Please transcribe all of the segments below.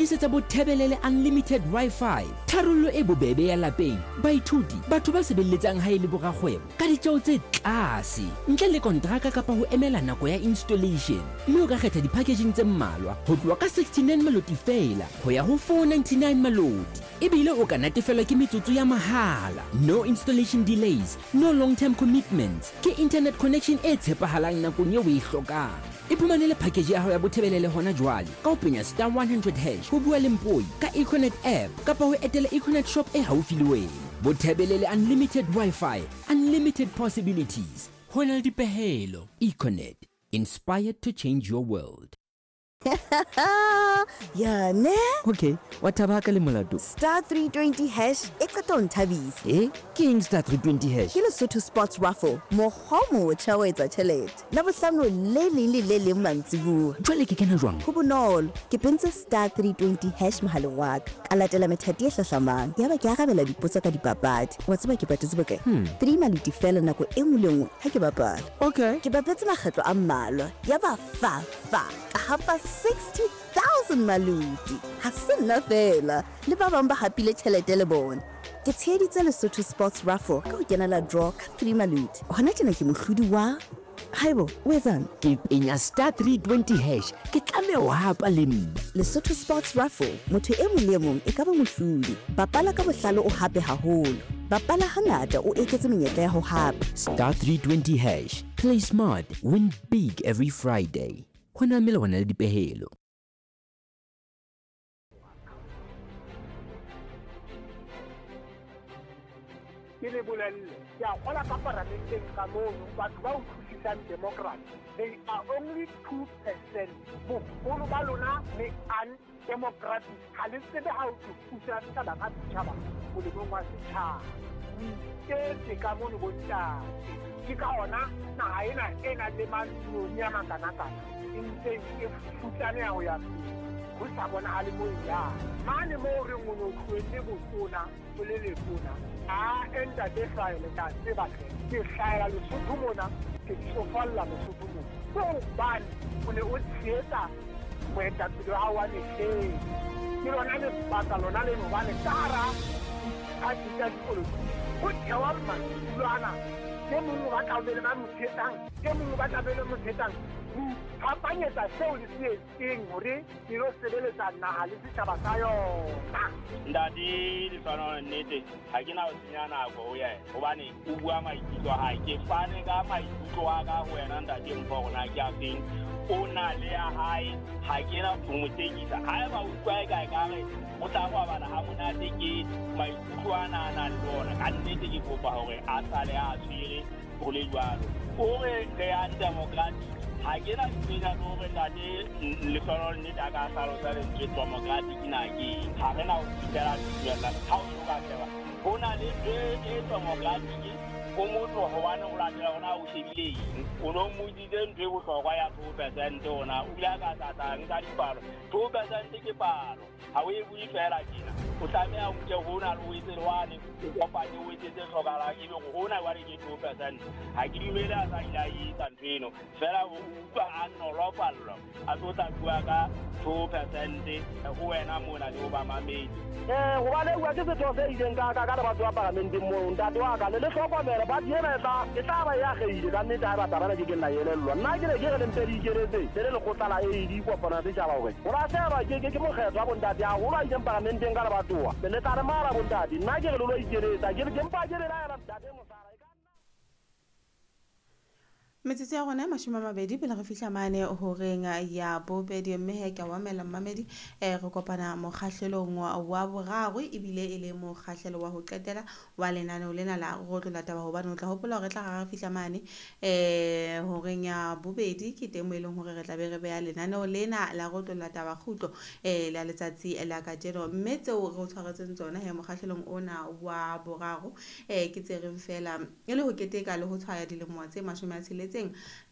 Tlisetsa Bothebelele Unlimited Wi-Fi, tharollo e bobebe ya lapeng, baithuti, batho ba sebeletsang hae le borakgwebo, ka ditjeo tse tlase, ntle le kontraka kapa ho emela nako ya installation. Mme o ka kgetha di-packaging tse mmalwa, ho tloha ka 69 maloti feela ho ya ho 499 maloti. Ebile o ka natefelwa ke metsotso ya mahala. No installation delays, no long-term commitments. Ke internet connection e tshepahalang nakong eo o e hlokang. Iphumanele package ya hao ya Bothebelele hona jwale ka ho penya star 100 hash ho bua le Mpoi ka Econet app kapa ho etela Econet shop e haufi le wena. Bothebelele Unlimited Wi-Fi, unlimited possibilities. Ho na le dipehelo. Econet, inspired to change your world. Ya ne? Okay, wa thaba ha ka le molato. Star 320 hash e qeta ho nthabisa. E, ke eng star 320 hash? Ke Lesotho Sports Raffle, mokgwa o motjha wa ho etsa tjhelete. Labohlano le leng le le leng mantsiboa. Jwale ke kena jwang? Ho bonolo, ke pentse star 320 hash mohaleng wa ka, ka latela methati e hlahlamang, yaba ke arabela dipotso ka dipapadi. Wa tseba ke patetse bokae? Three maluti feela nako e nngwe le nngwe ha ke bapala. Okay. Ke bapetse makgetlo a mmalwa, yaba fa fa, ka hapa 60,000 maluti. Ha se nna feela, le ba bang ba hapile tjhelete le bona. Ke tsheheditse Lesotho Sports Raffle ka ho kenela draw ka three maluti. Hona tjena ke mohlodi wa. Haibo, o etsang? Ke penya star 320 hash, ke tlameha ho hapa le nna. Lesotho Sports Raffle, motho e mong le e mong e ka ba mohlodi. Bapala ka bohlale o hape haholo. Bapala hangata o eketse menyetla ya ho hapa. Star 320 hash, play smart, win big every Friday. Ho na melawana le dipehelo. Ke le bolelle, ke a kgola ka paramenteng ka mono batho ba utlwisisang democracy, they are only 2%. Boholo ba lona le undemocratic, ha le tsebe ha o tlo pusa setjhaba ka setjhaba molemong wa setjhaba. O iketse ka mono bontate. Ke ka hona naha ena e nang le manoni a makanakana e ntseng e futsaneha ho ya pele, ho sa bonahale mo e yang. Mane moo re reng o ne o tlohelle botona o le letona, ae ntate Hlwaele, ke a tseba hle, ke hlahela Lesotho mona, ke tsofalla Lesotho mona. Ke hobane o ne o tshehetsa moetapele wa hao wa mehleng. Ke lona lebaka lona leno hobane ka hara diphathi tsa dipolotiki ho thewa maikutlo ana, e mong o batla ho be le ba mo tshehetsang, e mong o batla be le mo tshehetsang. Ho iphapanyetsa seo le se etseng hore le lo sebeletsa naha le setjhaba sa yona. Ntate Lehlohonolo, nnete ha ke na ho senya nako ho yena hobane o bua maikutlo a hae. Ke fane ka maikutlo a ka ho wena ntate Mpho hore na ke a feng. O na le ya hae, ha ke na ho mo tsekisa. Haeba o utlwa eka ekare o tla robala ha monate ke maikutlo ana a nang le ona, ka nnete ke kopa hore a sale a tshwere ho le jwalo. O re re yang democratic, ha ke na ntho le hore ntate Lehlohonolo nnete a ka hlalosa lentswe democratic na ke eng. Ha re na ho fihlela dumella ha o so ka sheba ho na le ntho e democratic o motho hobane o latela hona o shebile eng. O no mmotsitse ntho e bohlokwa ya 2% ona o ile a ka tlatla nka dipalo. 2% ke palo, ha o e bue fela tjena. O tlameha o nke hona le o etse le wane, o kopanye o etse tse hlokahalang ebe hore hona jwale ke 2%. Ha ke dumele a sa ile a etsa ntho eno, fela o utlwa a nolofallwa a tlo tla bua ka 2% ho wena mona le ho bamamedi. Hobane bua ke setho se ileng ka ka ka le batho ba paramenteng moo ntate wa ka le le hlokomele party ena e tla ba e agehile ka nnete haeba taba ena ke keng la elellwa. Nna ke ne ke re le mpe le ikeletse le le lekgotla la AD kopano ya setjhaba hore ho lahlehelwa ke mokgetho wa bontate haholo a ileng paramenteng ka lebatowa le tla re mala bontate. Nna ke re le lo ikeletsa ke mpa ke belaela ntate Mosala e ka nna. Metsotso ya rona e 20 pele re fihla mane horeng ya bobedi, mme he ke a o amela mmamedi. Re kopana mokgahlelong wa boraro ebile e le mokgahlelo wa ho qetela wa lenaneo lena la Rotlola Taba, hobane o tla hopola hore tla ra fihla mane horeng ya bobedi ke teng mo e leng hore re tla be re beha lenaneo lena la Rotlola Taba kgutlo la letsatsi la kajeno. Mme tseo re o tshwaretseng tsona he mokgahlelong ona wa boraro ke tse reng fela e le ho keteka le ho tshwaya dilemo tse 60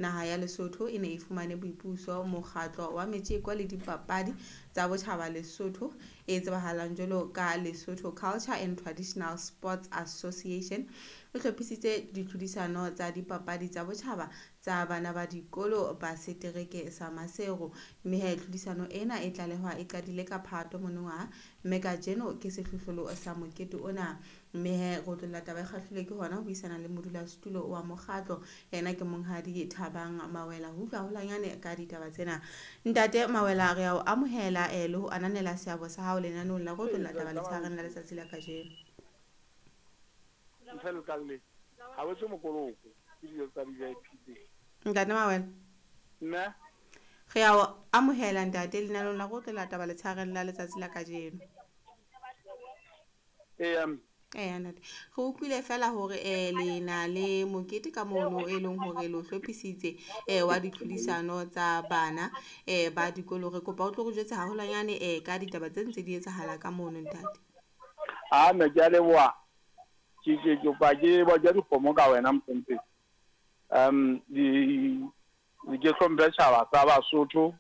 naha ya Lesotho e ne e fumane boipuso. Mokgatlo wa metjeko le dipapadi tsa botjhaba Lesotho e tsebahalang jwalo ka Lesotho Culture and Traditional Sports Association e hlophisitse ditlhodisano tsa dipapadi tsa botjhaba tsa bana ba dikolo ba setereke sa Maseru. Mme he tlhodisano ena e tlalehwa e qadile ka Phato monongwaha, mme kajeno ke sehlohlolo sa mokete ona. Mme he re otlolla taba e kgahlilwe ke hona ho buisana le modulasetulo wa mokgatlo, yena ke monghadi Thabang Mawela, ho utlwa haholwanyane ka ditaba tsena. Ntate Mawela, re a o amohela le ho ananela seabo sa hao lenaneong la re otlolla taba letshehareng la letsatsi la kajeno. Ntle le tlalle, ha wetse mokoloko ke dijo tsa di-VIP tse. Ntate Mawela. Mme? Re a o amohela ntate lenaneong la re otlolla taba letshehareng la letsatsi la kajeno. Eya. Eya ntate. Re utlwile fela hore le na le mokete ka mono e leng hore le o hlophisitse wa ditlhodisano tsa bana ba dikolo. Re kopa o tlo re jwetse haholwanyane ka ditaba tse ntse di etsahala ka mono ntate. A mme ke a leboha. Ke ke kopa ke boja dikgomo ka wena mohlomphehi. Di ke hlomphe tjhaba sa Basotho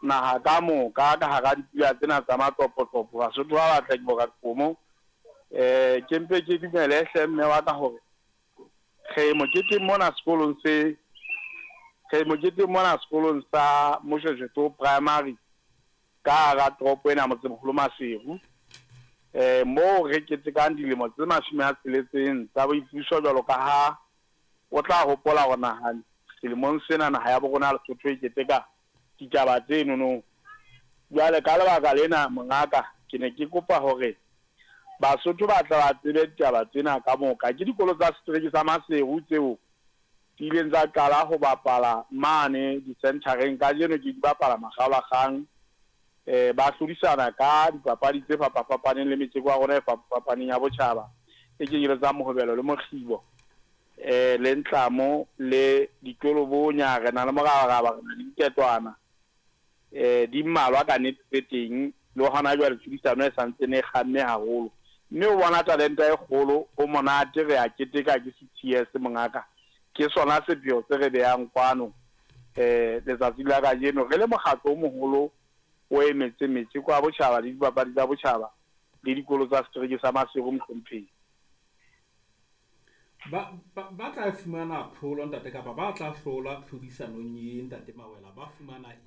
naha ka moka ka hara dipula tsena tsa matopotlopo. Basotho ba batla ke boka dikgomo. Ke mpe ke dumele hle mme wa ka hore re moketeng mona sekolong se re moketeng mona sekolong sa Moshoeshoe Primary ka hara toropo ena motsemoholo Maseru. Moo re ketekang dilemo tse 60 tsa boipuso jwalo ka ha o tla hopola hore naha selemong sena naha ya borona Lesotho e keteka ditaba tse nonong. Jwale ka lebaka lena mongaka ke ne ke kopa hore Basotho ba tla ba tsebe ditaba tsena ka moka. Ke dikolo tsa setereke sa Maseru tseo di ileng tsa qala ho bapala mane di-centereng. Kajeno ke di bapala makgaolakgang. Ba hlodisana ka dipapadi tse fapafapaneng le metjeko ya rona e fapafapaneng ya botjhaba e kenyeletsang mohobelo le mokgibo, le ntlamo le ditolobonya. Re na le morabaraba, re na le diketwana, di mmalwa ka nnete tse teng. Le hona jwale tlhodisano e santsane e kgamme haholo, mme o bona talenta e kgolo. Ho monate, re a keteka ke 60 years mongaka. Ke sona sepheo se re behang kwano letsatsi la kajeno re le mokgatlo o moholo o emetseng metjeko ya botjhaba le dipapadi tsa botjhaba le dikolo tsa setereke sa Maseru mohlomphehi. Ba tla fumana tlholo ntate, kapa ba tla hlola tlhodisanong ye ntate Mawela, ba fumana eng?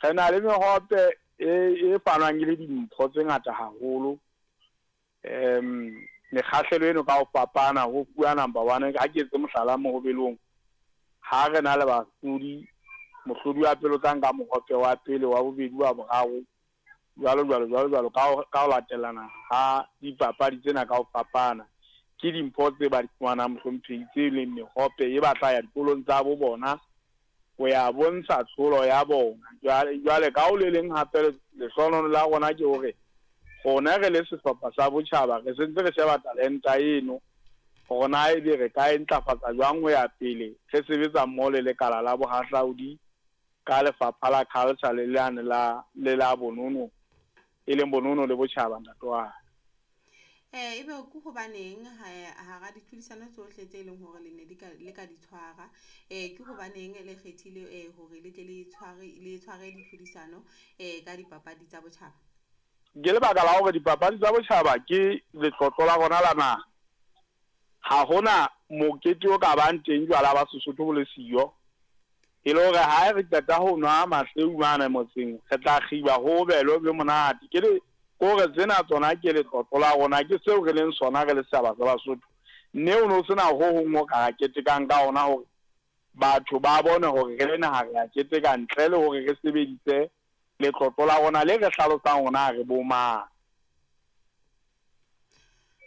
Re na le mehope e fanwang e le dimpho tse ngata haholo. Mekgahlelo eno ka ho fapana ho fuwa number 1. Ha ke etse mohlala mohobelong, ha re na le bahlodi, mohlodi wa pele o tla nka mohope wa pele, wa bobedi, wa boraro, jwalo jwalo jwalo jwalo ka ho latelana ha dipapadi tsena ka ho fapana. Ke dimpho tse ba di fumanang mohlomphehi tse leng mehope e batla ya dikolong tsa bo bona ho ya bontsha tlholo ya bona. Jwale ka ho le leng hape lehlohonolo la rona ke hore rona re le sehlopha sa botjhaba re sentse re sheba talenta eno hore na ebe re ka e ntlafatsa jwang ho ya pele. Re sebetsa mmoho le lekala la bohahlaudi ka lefapha la culture le lane la le la bonono, e leng bonono le botjhaba ntate wa ka. Ebe ke hobaneng hara ditlhodisano tsohle tse leng hore le ne di ka le ka di tshwara, ke hobaneng le kgethile hore le tle le tshware ditlhodisano ka dipapadi tsa botjhaba? Ke lebaka la hore dipapadi tsa botjhaba ke letlotlo la rona la naha. Ha hona mokete o ka bang teng jwala ba Sesotho bo le siyo. E le hore ha re qeta ho nwa mahleu mane motseng, re tla kgiba ho belo be monate. Ke le kore tsena tsona ke letlotlo la rona, ke seo re leng sona re le setjhaba sa Basotho. Mme o no sena ho hong o ka ketekang ka ona hore batho ba bone hore re le naha re a keteka ntle le hore re sebedise letlotlo la rona le re hlalosang hore re bo mang.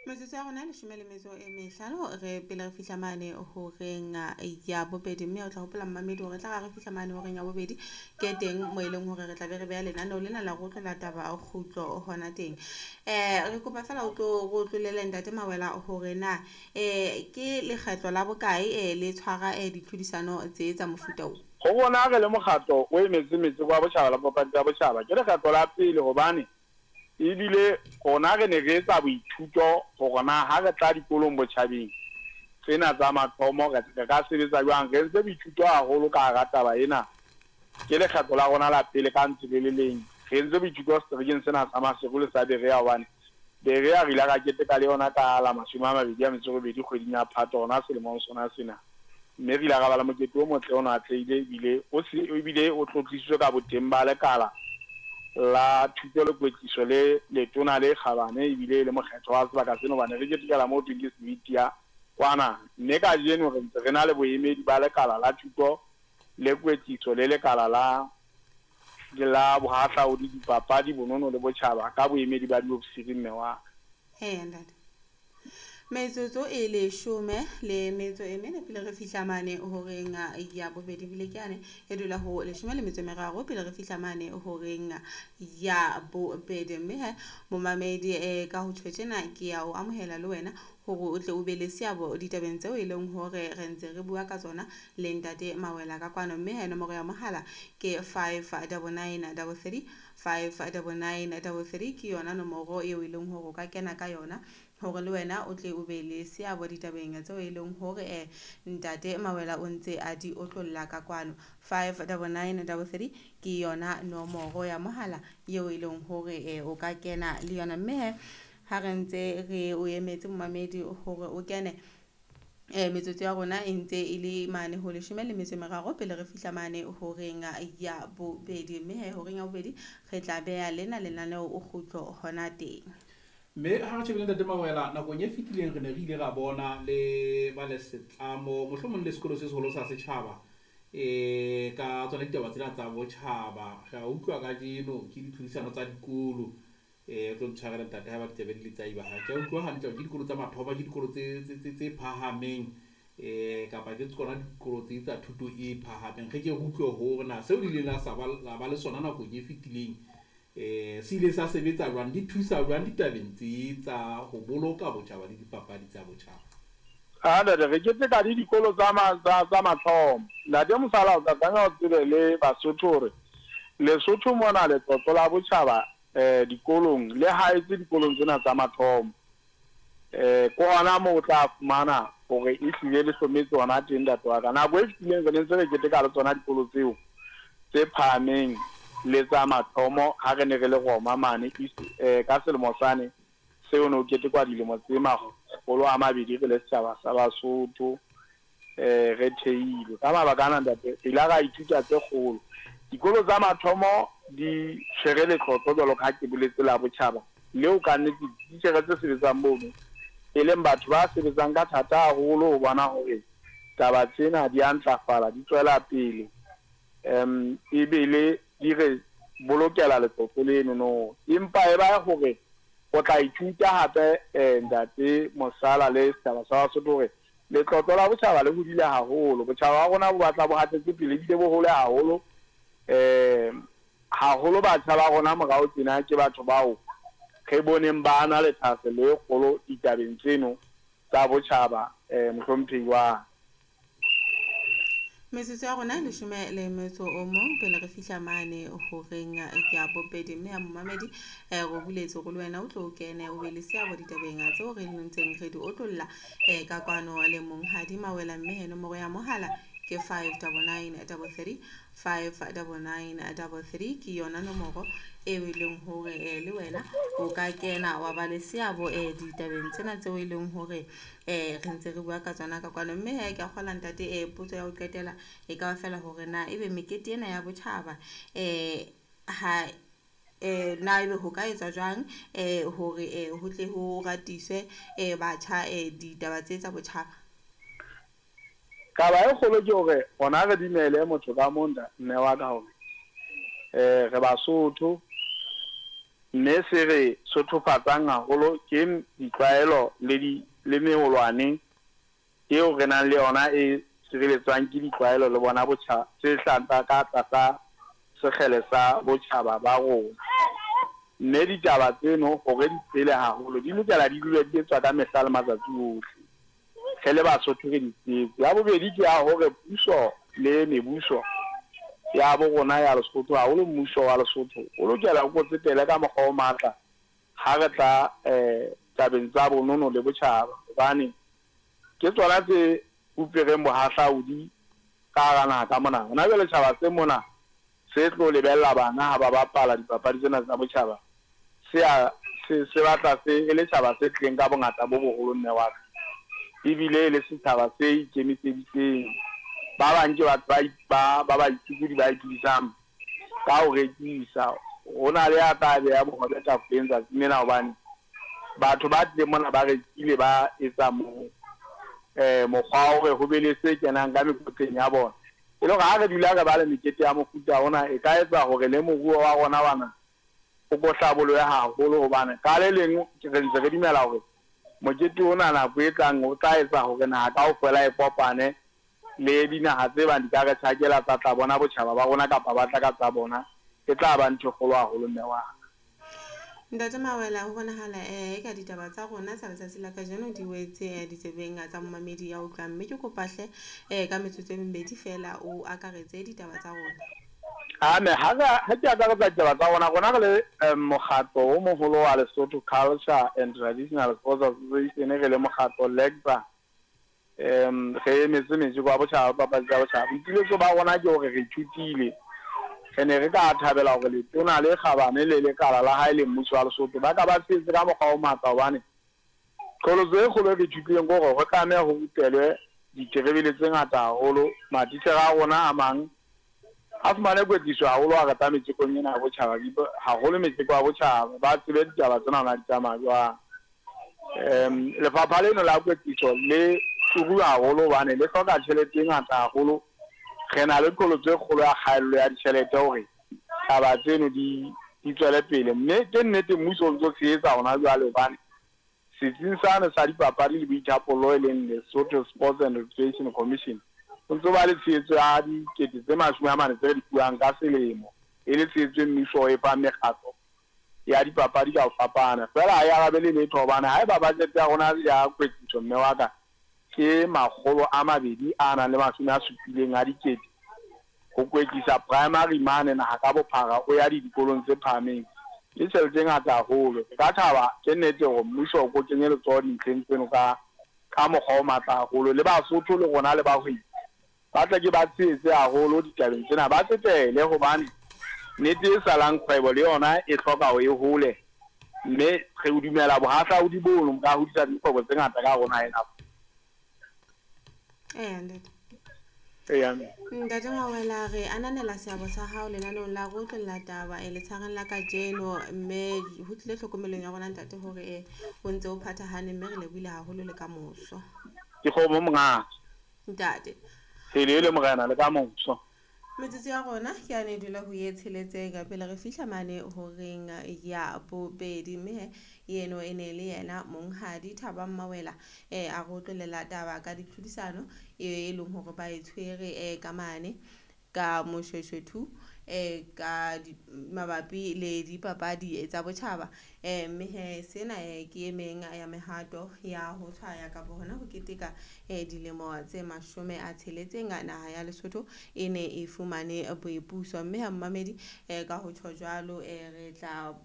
Metsotso ya rona 15 re pele re fihla mane horeng ya bobedi, mme o tla hopola mmamedi hore tla re fihla mane horeng ya bobedi ke teng mo e leng hore re tla be re beha lenaneo lena la go tlola taba kgutlo hona teng. Re kopa fela o tlo go tlolele ntate Mawela hore na ke lekgetlo la bokae le tshwara ditlhodisano tse tsa mofuta o? Ho rona re le mokgatlo o emetse metjeko ya botjhaba la papadi tsa botjhaba ke lekgetlo la pele, hobane ebile rona re ne re etsa boithuto hore na ha re tla dikolong botjhabeng tsena tsa mathomo re ka sebetsa jwang. Re entse boithuto haholo ka hara taba ena. Ke lekgetlo la rona la pele ka ntse le le leng. Re entse boithuto seterekeng sena sa Maseru le sa Berea, hobane Berea re ile ra keteka le yona ka la 28 kgweding ya Phato hona selemong sona sena. Mme re ile ra ba le mokete o motle o no atlehile ebile o se ebile o tlotlisitswe ka boteng ba lekala la thuto le kwetliso le letona le kgabane ebile e le mokgetho wa sebaka seno hobane re ketekela moo thweng ke Switia kwana. Mme kajeno re ntse re na le boemedi ba lekala la thuto le kwetliso le lekala la la bohahlaodi, dipapadi, bonono le botjhaba ka boemedi ba diofisiri mme wa. Eya ntate. Metsotso e leshome le metso e mene pele re fihla mane horeng ya bobedi bile ke yane e dula ho leshome le metso e meraro pele re fihla mane horeng ya bobedi mme he momamedi eh, ka ho tjho tjena ke ya o amohela le wena hore o tle o be le seabo ditabeng tseo e leng hore re ntse re bua ka tsona le ntate Mawela ka kwano mme he nomoro ya mohala ke 59933 59933 ke yona nomoro eo e leng hore o ka kena ka yona hore le wena o tle o be le seabo ditabeng tseo e leng hore eh, ntate Mawela o ntse a di otlolla ka kwano 59933 ke yona nomoro ya mohala eo e leng hore eh, o ka kena le yona mme he ha re ntse re o emetse momamedi hore o kene um metsotso ya rona e ntse e le mane ho leshome le metso e meraro pele re fihla mane horeng ya bobedi mme he horeng ya bobedi re tla beha lena lenaneo o kgutlo hona teng. Mme ha re shebile Ntate Mawela, nakong e fetileng re ne re ile ra bona le ba le setlamo, mohlomong le sekolo se seholo sa setjhaba, um ka tsona ditaba tsena tsa botjhaba. Re a utlwa kajeno ke ditlhodisano tsa dikolo. Eh, o tlo ntshwarela ntate ha ba ditsebe di le tsa iba. Ha ke a utlwa hantle hore ke dikolo tsa mathomo, ke dikolo tse phahameng eh kapa ke tsona dikolo tse tsa thuto e phahameng. Re ke re utlwe hore na seo le ileng la sa ba la ba le sona nakong e fetileng eh se ile sa sebetsa jwang, di thusa jwang ditabeng tse tsa ho boloka botjhaba le dipapadi tsa botjhaba. A ntate re keteka le dikolo tsa tsa mathomo. Ntate Mosala o tla tlameha o tsebe le Basotho hore Lesotho mona letlotlo la botjhaba eh, dikolong le haetse dikolong tsena tsa mathomo. Eh, ke hona moo o tla fumana hore e hlile le hlometse hona teng ntate wa ka. Nako e fetileng re ne ntse re keteka le tsona dikolo tseo tse phahameng le tsa mathomo ha re ne re le Roma mane East eh, ka selemo sane seo ne ho ketekwa dilemo tse 200 re le setjhaba sa Basotho. eh, re theilwe. Ka mabaka ana, ntate, re ile ra ithuta tse kgolo. Dikolo tsa mathomo di tshwere letlotlo jwalo ka ha ke boletse la botjhaba leo ka nnete dititjhere tse sebetsang mono e leng batho ba sebetsang ka thata haholo ho bona hore taba tsena di a ntlafala, di tswela pele um ebile di re bolokela letlotlo leno no. Empa e ba hore o tla ithuta hape eh, ntate Mosala le setjhaba sa Basotho hore Letlotlo la botjhaba le hodile haholo. Botjhaba ba rona bo batla bo hatetse pele ebile bo hole haholo. Um haholo batjha ba rona morao tjena ke batho bao re boneng ba na le thahasello e kgolo ditabeng tseno tsa botjhaba, um mohlomphehi wa ka. Metsotso ya rona e leshome le metso o mong pele re fihla mane horeng ya bobedi mme ya momamedi eh, re buletse gore le wena o tlo o kene o be le seabo ditabeng tseo re ntseng re di otlolla eh, ka kwano le monghadi Mawela mme he nomoro ya mohala ke 59933 59933 ke yona nomoro eo e leng hore eh, le wena o ka kena wa ba le seabo eh, ditabeng tsena tseo e leng hore eh, re ntse re bua ka tsona ka kwano mme he ke a kgola ntate eh, potso ya ho qetela e ka ba fela hore na ebe mekete ena ya botjhaba eh, ha eh, na ebe ho ka etswa jwang eh, hore eh, ho tle ho ratiswe eh, batjha eh, ditaba tse tsa botjhaba? Taba e kgolo ke hore rona re dumele motho ka mong mme wa ka hore eh, re Basotho mme se re sothofatsang haholo ke ditlwaelo le di le meholwane eo re nang le yona e sireletswang ke ditlwaelo le bona botjha tse hlahang ka tlasa sekgele sa botjhaba ba rona. Mme ditaba tseno hore di phele haholo di lokela di dule di etswa ka mehla le matsatsi ohle. Re le Basotho re di tsetse. Ya bobedi ke ya hore puso le mebuso ya bo rona ya Lesotho, haholo mmuso wa Lesotho, o lokela o kotsetele ka mokgwa o matla ha re tla eh, tabeng tsa bonono le botjhaba, hobane ke tsona tse fupereng bohahlaudi ka hara naha ka mona. Hona jwale tjhaba se mona se tlo lebella bana ha ba bapala dipapadi tsena tsa botjhaba, se a se se batla se e le tjhaba se tlileng ka bongata bo boholo mme wa ka. Ebile e le setjhaba se ikemiseditseng. Ba bang ke batho ba ba ba baitshokodi ba iphedisang ka ho rekisa. Ho na le ya tla beha bohobe tafoleng tsatsing lena hobane batho ba tlileng mona ba rekile ba etsa mo mokgwa wa hore ho be le se kenang ka mekotleng ya bona. E le hore ha re dula re ba le mekete ya mofuta ona e ka etsa hore le moruo wa rona wa naha o ko hlabolohe haholo hobane ka le leng re ntse re dumela hore mokete ona nako e tlang o tla etsa hore naha kaofela e kopane le dinaha tse bang di ka re tjhakela tsa tla bona botjhaba ba rona kapa ba tla ka tsa bona, e tla ba ntho e kgolo haholo mme wa ka. Ntate Mawela, ho bonahala eka ditaba tsa rona tsa letsatsi la kajeno di wetse ditsebeng tsa momamedi ya utlwang, mme ke kopa hle ka metsotso e mebedi feela o akaretse ditaba tsa rona. Ame ha ha ke akaretsa ditaba tsa rona, rona re le mokgatlo o moholo wa Lesotho Culture and Traditional Sports Association, re le mokgatlo LECSA, re emetse metjeko ya botjhaba, papadi tsa botjhaba. Boipiletso ba rona ke hore re ithutile. Re ne re ka thabela hore letona le kgabane le lekala la hae le mmuso wa Lesotho ba ka ba tshehetse ka mokgwa o matla hobane qholotso e kgolo e re ithutileng ke hore ho tlameha ho rupelwe diterebele tse ngata haholo. Matitjhere a rona a mang a fumane kwetliso haholo ha re tla metjekong ena ya botjhaba, haholo metjeko ya botjhaba, ba tsebe ditaba tsena na di tsamaya jwang. Lefapha leno la kwetliso le turu haholo hobane le hloka tjhelete e ngata haholo. Re na le qholotso e kgolo ya kgaello ya ditjhelete hore taba tseno di di tswele pele, mme ke nnete mmuso o ntso tshehetsa hona jwale hobane setsing sane sa dipapadi le boithapollo e leng Lesotho Sports and Recreation Commission o ntso ba le tshehetso ya dikete tse 40 tse re di fuwang ka selemo, e le tshehetso e mmuso o e fang mekgatlo ya dipapadi ka ho fapana. Feela ha e arabele letho hobane haeba budget ya rona ya kwetliso mme wa ka ke 270 a dikete ho kwetlisa primary mane naha ka bophara o ya dikolong tse phahameng, ke tjhelete e ngata haholo. Re ka thaba ke nnete hore mmuso o ko kenye letsoho dintlheng tseno ka ka mokgwa o matla haholo. Le Basotho le rona le bahwebi ba tle ke ba tshehetse haholo ditabeng tsena, ba tsetele hobane nnete e salang kgwebo le yona e hloka hore e hole, mme re o dumela bohahlaudi bono bo ka hodisa dikgwebo tse ngata ka hare ho naha ena. Eya ntate. Eya. Ntate Mawela, re ananela seabo sa hao lenaneong la Re Utlwella Taba letshareng la kajeno, mme ho tlile tlhokomelong ya rona ntate hore o ntse o phathahane, mme re lebohile haholo le ka moso. Ke kgomo monghadi. Ntate. Helele morena le ka moso. Metsotso ya rona ke yane e dula ho ye tsheletseng pele re fihla mane horeng ya bobedi, mme he eno e ne le yena monghadi Thabang Mawela a re utlwelela taba ka ditlhodisano e leng hore ba e tshwere ka mane ka Moshoeshoe 2 ka mabapi le dipapadi tsa botjhaba, mme he sena ke e meng ya mehato ya ho tshwaya kapa hona ho keteka dilemo tse 60 naha ya Lesotho e ne e fumane boipuso. Mme ha mmamedi ka ho tjho jwalo re tla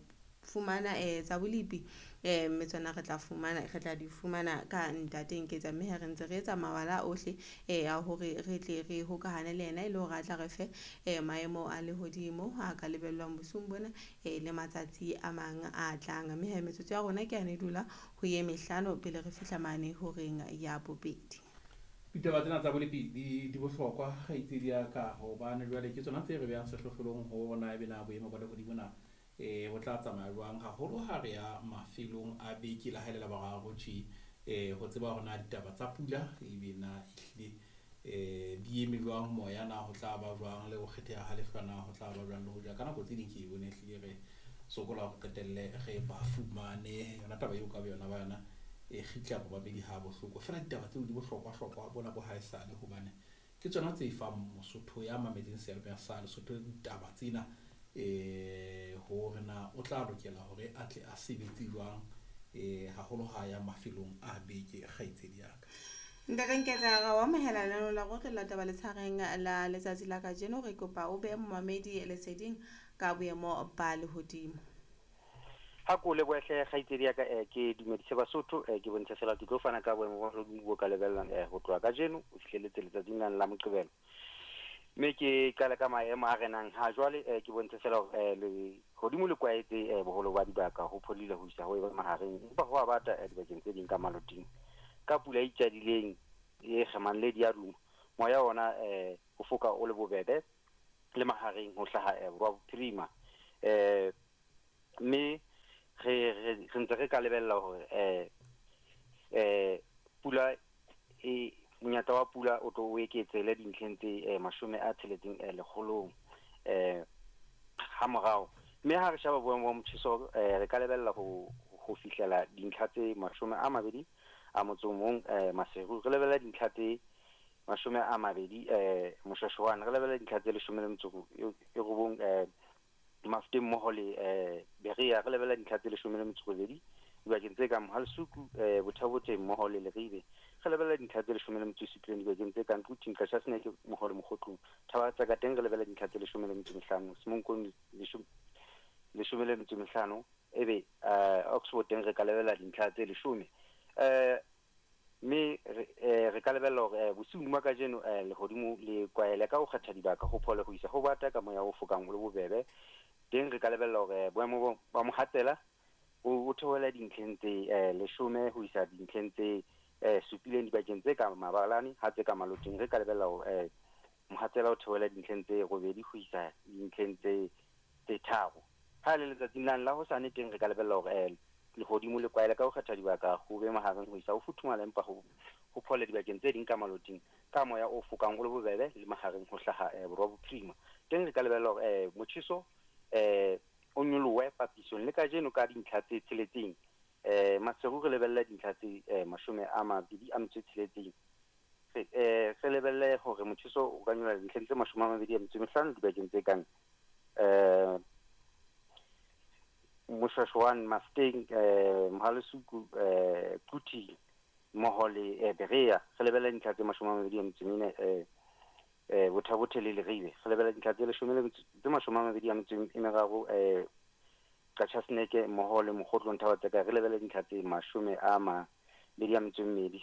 fumana tsa bolepi, mme tsona re tla fumana re tla di fumana ka ntate Nketsa, mme ha re ntse re etsa mawala ohle a hore re tle re hokahane le yena e le hore a tla re fe maemo a lehodimo a ka lebellwang bosiung bona le matsatsi a mang a tlang. Mme ha metsotso ya rona ke yane e dula ho ye mehlano pele re fihla mane horeng ya bobedi. Ditaba tsena tsa bolepi di bohlokwa kgaitsedi ya ka, hobane jwale ke tsona tse re behang sehlohlolong ho na ebe na boemo ba lehodimo na bo tla tsamaya jwang, haholo ha re ya mafelong a beke le ha e le Laboraro tje, ho tseba hore na ditaba tsa pula ebe na ehlile di eme jwang, moya na ho tla ba jwang, le ho kgetheha ha lehlwa na ho tla ba jwang, le hoja ka nako tse ding ke e bone ehlile re sokola hore qetelle re ba fumane. Yona taba eo ka boyona ba yona e kgitla bobabedi ha bohloko, feela ditaba tseo di bohlokwa-hlokwa bona bo haesale, hobane ke tsona tse fang Mosotho ya mametseng seyalemoya sa Lesotho ditaba tsena hore na o tla lokela hore a tle a sebetse jwang, haholo ha ya mafelong a beke kgaitsedi ya ka. Ntate Nketsa, ra o amohela lenaneo la Re Utlwella Taba letshareng la letsatsi la kajeno. Re kopa o behe momamedi leseding ka boemo ba lehodimo. Ha ko lebohe hle kgaitsedi ya ka, ke dumedise Basotho, ke bontshe fela ke tlo fana ka boemo ba lehodimo bo ka lebellang ho tloha kajeno ho fihlelletse letsatsing lane la Moqebelo. Mme ke qale ka maemo a renang ha jwale, ke bontshe fela hore lehodimo le kwaetse boholo ba dibaka, ho phodile ho isa ho eba mahareng, empa ho a bata dibakeng tse ding ka maloting. Ka pula e itjadileng e kgemang le diaduma, moya ona o foka o le bobebe le mahareng ho hlaha borwa bophirima. Mme re ntse re ka lebella hore pula e monyetla wa pula o tlo o eketsele dintlheng tse 60 lekgolong ha morao. Mme ha re sheba boemo ba motjheso, re ka lebella ho fihlela dintlha tse 21 Maseru, re lebella dintlha tse 20 Moshwashwane, re lebella dintlha tse 19 Mafeteng mmoho le Berea, re lebella dintlha tse 18 dibakeng tse kang Mohalesuku, Botha-Bothe mmoho le Leribe, re lebella dintlha tse 17 dibakeng tse kang Quthing, Qachaseneke mmoho le Mokgotlong. Thaba tsa ka teng re lebella dintlha tse 15, Semonkong 15, ebe Oxford teng re ka lebella dintlha tse 10. Mme re ka lebella hore bosiung ba kajeno lehodimo le kwaele ka ho kgetha dibaka, ho phole ho isa ho bata ka moya o fokang o le bobebe. Teng re ka lebella hore boemo ba mohatsela o theohela dintlheng tse 10 ho isa dintlheng tse 7 dibakeng tse ka mabalane, ha tse ka maloting re ka lebella hore mohatsela o theohela dintlheng tse 8 ho isa dintlheng tse 3. Ha le letsatsing la hosane teng re ka lebella hore lehodimo le kwaele ka ho kgetha dibaka, ho be mahareng ho isa ho futhumala, empa ho phole dibakeng tse ding ka maloting ka moya o fokang o le bobebe le mahareng ho hlaha borwa bophirima. Teng re ka lebella hore motjheso o nyolohe papisong le kajeno ka dintlha tse 6. Maseru re lebella dintlha tse 26. Re lebelle hore motjheso o ka nyolla dintlheng tse 25 dibakeng tse kang Moshwashwane, Mafeteng, Mohalesuku, Quthing mmoho le Berea. Re lebella dintlha tse 24 Botha-Bothe le Leribe. Re lebella dintlha tse 23 Qachaseneke mmoho le Mokgotlong Thaba Tseka. Re lebella dintlha tse 22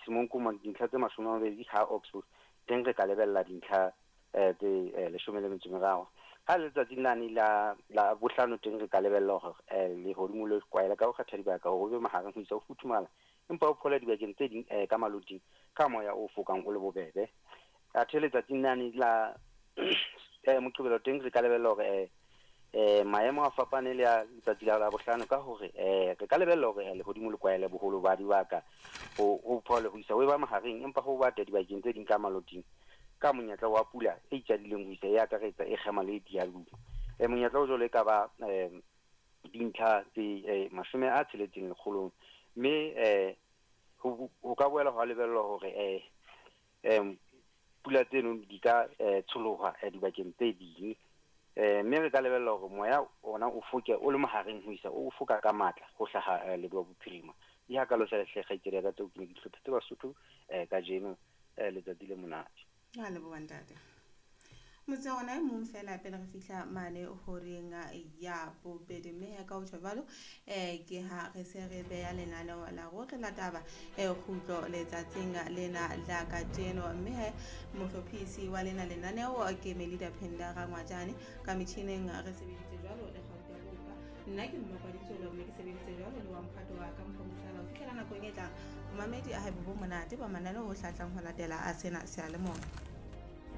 Semonkong dintlha tse 20 ha Oxford teng re ka lebella dintlha tse 13. Ha letsatsing lane la bohlano teng re ka lebella hore lehodimo le kwaela ka ho kgetha dibaka, ho be mahareng ho isa ho futhumala, empa ho phola dibakeng tse ding ka maloting ka moya o fokang o le bobebe. Athe letsatsing lane la Moqebelo teng re ka lebella hore maemo a fapane le a letsatsi la bohlano, ka hore re ka lebella hore lehodimo le kwaele boholo ba dibaka, ho phole ho isa ho eba mahareng, empa ho bata dibakeng tse ding ka maloting ka monyetla wa pula e itjadileng ho isa e akaretsa e kgema le dialuma. Monyetla o jwalo e ka ba dintlha tse 60 lekgolong. Mme ho ka boela hwa lebellwa hore pula tseno di ka tsholoha dibakeng tse ding. Mme re ka lebella hore moya ona o foke o le mahareng ho isa o foka ka matla ho hlaha leboya bophirima. Di hakalo fela hle kgaitsedi ya ka tseo ke ne ke di hlophetse Basotho kajeno letsatsi le monate. A leboha ntate. Motse ona e mong fela pele re fihla mane horeng ya bobedi, mme ka ho tjho jwalo ke ha re se re beya lenaneo la rohle la taba kgutlo letsatsing lena la kajeno. Mme mohlophisi wa lena lenaneo ke Melida Phenda Rangwajane, ka metjhineng re sebeditse jwalo le Gauta Bopa, nna ke Mmakwaditsolo, mme ke sebeditse jwalo le wa mphato wa ka Mpho Mohlala. Ho fihlela nakong e tlang, momamedi a haebe bo monate ba mananeo o hlatlang ho latela a sena seyalemoya.